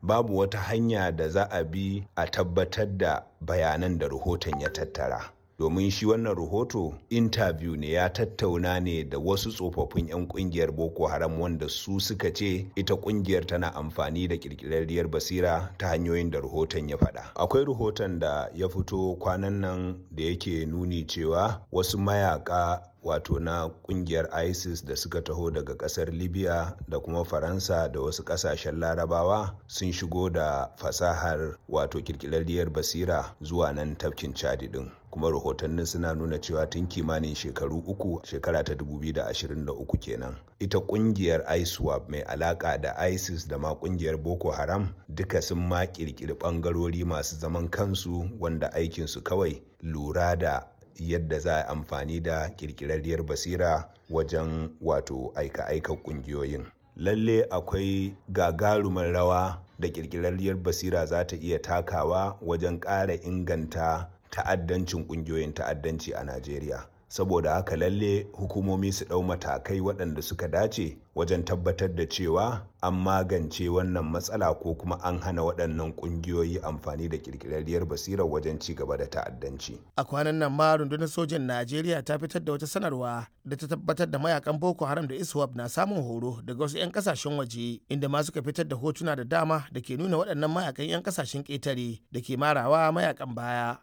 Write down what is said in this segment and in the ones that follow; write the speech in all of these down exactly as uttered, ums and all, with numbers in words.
Babu wata hanya da za a bi a tabbatar da bayanan da rahoton ya tattara. Domin shi wannan rahoto interview ne, ya tattauna ne da wasu tsofaffin 'yan kungiyar Boko Haram wanda su suka ce ita kungiyar tana amfani da kirkirarriyar basira ta hanyoyin da rahoton ya faɗa. Akwai rahoton da ya fito kwanan nan da yake nuni cewa wasu mayaka wato na kungiyar ISIS da suka taho daga kasar Libya da kuma Faransa da wasu kasashen Larabawa sun shigo da fasahar wato kirkirarriyar basira zuwa nan tafkin Chadi din. Kuma rahotannin suna nuna cewa tun kimanin shekaru uku, shekara ta dubu biyu da ashirin da uku kenan, ita kungiyar ISWAP mai alaka da ISIS da ma kungiyar Boko Haram duka sun ma kirkiri bangarori masu zaman kansu wanda aikinsu kawai lura da yadda za a amfani da kirkirarriyar basira wajen wato aika-aika kungiyoyin. Lalle akwai gagarumar rawa da kirkirarriyar basira za ta iya takawa wajen ƙara inganta ta'addancin kungiyoyin ta'addanci a Najeriya. Saboda haka lalle hukumomi su ɗau matakai waɗanda suka dace wajen tabbatar da cewa an magance wannan matsala ko kuma an hana waɗannan ƙungiyoyi amfani da ƙirƙirarriyar basirar wajen ci gaba da ta'addanci. A kwanan nan ma rundunar sojan Najeriya ta fitar da wata sanarwa da ta tabbatar da mayakan Boko Haram da ISWAP na samun horo daga wasu 'yan kasashen waje, inda ma suka fitar da hotuna da dama da ke nuna waɗannan mayakan 'yan kasashen ƙetare da ke marawa mayakan baya.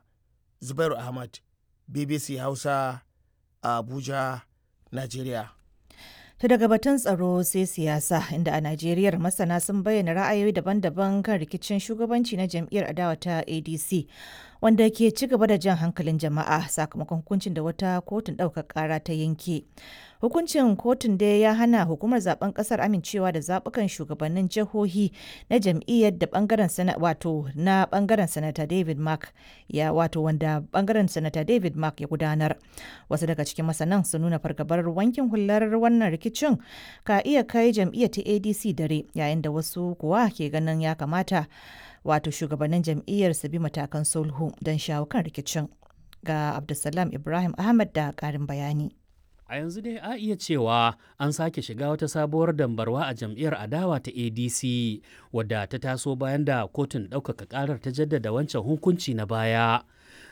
Zubairu Ahmad, B B C Hausa, Abuja, Najeriya. To daga batun tsaro sai siyasa, inda a Najeriya masana sun bayyana ra'ayoyi daban-daban kan rikicin shugabanci na jam'iyyar adawa ta A D C wanda ke ci gaba da jan hankalin jama'a sakamakon hukuncin da wata kotun ɗaukar ƙara ta yanke. Hukuncin kotun dai ya hana hukumar zaben kasar amincewa da zabukan shugabannin jihohi na jam'iyyar da bangaren sana wato na bangaren Sanata David Mark ya wato wanda bangaren Sanata David Mark ya gudanar. Wasu daga cikin masanan sun nuna fargabar wankin hular wannan rikicin ka iya kai jam'iyyar ta A D C dare, yayin da wasu kuwa ke ganin ya kamata wato shugabannin jam'iyyar su bi matakan sulhu don shawo kan rikicin. Ga Abdulsalam Ibrahim Ahmad da karin bayani. A yanzu dai a iya cewa an sake shiga wata sabuwar dambarwa a jam'iyyar adawa ta A D C, wadda ta taso bayan da kotun ɗaukaka ƙarar ta jaddada wancan hukunci na baya.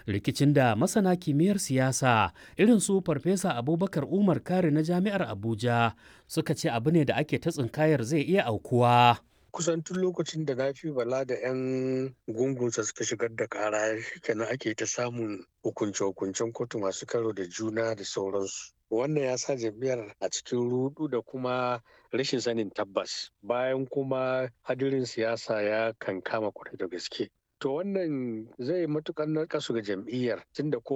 Rikicin da masana kimiyyar siyasa irin su Farfesa Abubakar Umar Kari na Jami'ar Abuja suka ce abu ne da ake ta tsinkayar zai iya aukuwa. Kusan tun lokacin da Nafi Bala da 'yan gungunsa suka shigar da kara kenan ake ta samun hukunce-hukuncen kotu masu karo da juna da sauransu. Wannan ya sa jam'iyyar a cikin rudu da kuma rashin sanin tabbas, bayan kuma hadirin siyasa ya kankama kwarai da gaske. To wannan zai matukar narkasu ga jam'iyyar, tunda ko